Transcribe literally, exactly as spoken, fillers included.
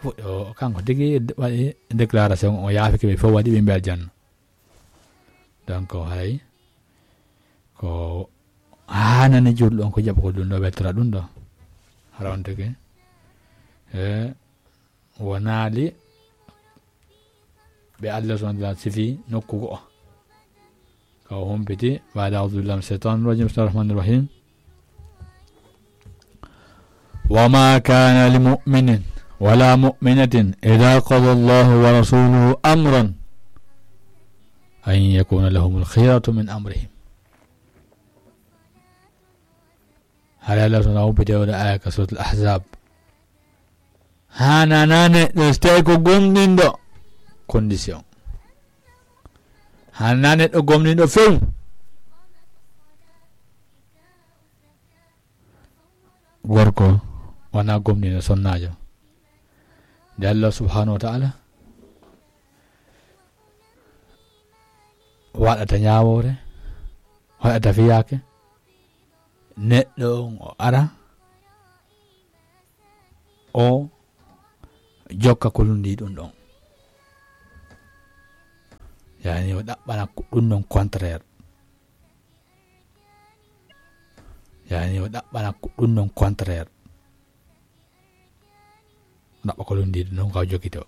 Fuɗɗo kanko tigi waɗi déclaration, o yaafike ɓe fof, waɗi ɓe mbi aljanna. Donc haray ko haanani julɗo on ko jaɓa ko ɗum ɗo weltora ɗum ɗo. Hara on tigi e wonaali ɓe Allah subhanahu wa ta'ala sifi nokku go'o. Ka o humpiti, baada a'udhu billahi minash shaitanir rajim, bismillahir rahmanir rahim. وما كان لمؤمن ولا مؤمنة إذا قضى الله ورسوله أمرا أن يكون لهم الخيرة من أمرهم. Haray Allah subhanahu wa ta'ala humpiti o ɗo aya ka suratul Ahzab. Haananaa neɗɗo, so tawi ko gomɗinɗo, condition. Haananaa neɗɗo gomɗinɗo few. Gorko wonaa gomɗinɗo, sonnaajo. Nde Allah subhanahu wa ta'ala waɗata ñaawoore, waɗata fiyaake, neɗɗo on o ara, o jokka ko lundi ɗum ɗon. Yani o ɗaɓɓana ko ɗum ɗon contraire. Yani o ɗaɓɓana ko ɗum ɗon contraire. Ɗaɓɓa ko lundi ɗum ɗon ka o jokki to.